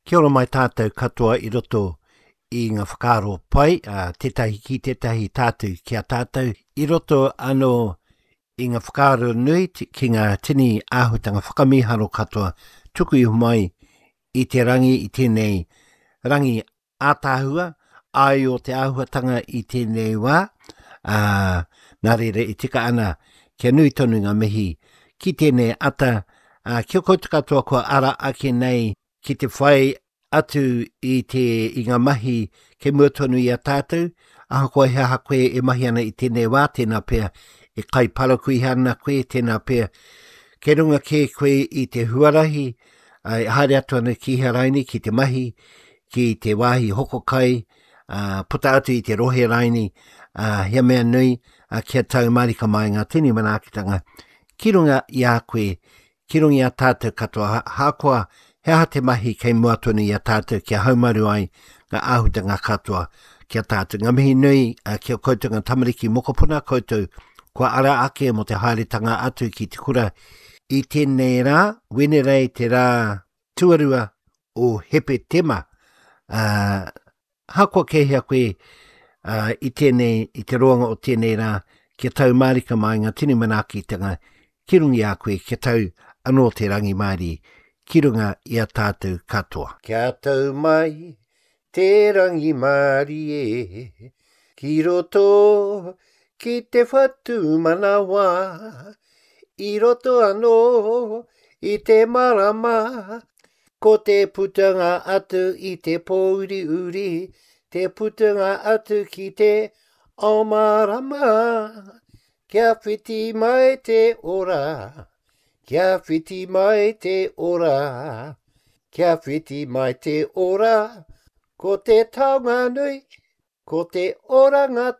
Kia ora mai tātou katoa i roto i ngā whakaaro pai, ā, tētahi ki tētahi tātou ki a tātou, i roto anō i ngā whakaaro nui ki ngā tini āhuatanga whakamīharo katoa tuku iho mai i te rangi i tēnei rangi ātaahua, āio te āhuatanga i tēnei wā, ā, nā reira e tika ana kia nui tonu ngā mihi ki tēnei ata, ā, ki a koutou katoa kua ara ake nei ki te whai atu i te, i ngā mahi kei mua tonu i a tātou, ahakoa he aha koe e mahi ana i tēnei wā, tēnā pea e kai parakuiha ana koe, tēnā pea kei runga kē koe i te huarahi, ā, e haere atu ana ki hea raini, ki te mahi, ki te wāhi hoko kai, ā, puta atu i te rohe raini, ā, he mea nui, ā, kia tau mārika mai ngā tini manaakitanga ki runga i a koe, ki runga i a tātou katoa, hākoa he aha te mahi kei mua tonu i a tātou kia haumaru ai ngā āhutanga katoa ki a tātou. Ngā mihi nui ki a koutou ngā tamariki mokopuna koutou kua ara ake mō te haeretanga atu ki te kura i tēnei rā, Wenerei te rā tuarua o Hepetema. Uh, hakoa kei hea koe uh, i tēnei, i te roanga o tēnei rā, kia tau mārika mai ngā tini manaakitanga ki runga i a koe, kia tau anō te rangimārie ki runga i a tātou katoa. Kia tau mai te rangimārie ki roto ki te whatumanawa, i roto anō i te marama, ko te putanga atu i te pōuriuri, te putanga atu ki te ao mārama, kia whiti mai te ora, kia whiti mai te ora, kia whiti mai te ora, ko te taonga nui, ko te oranga.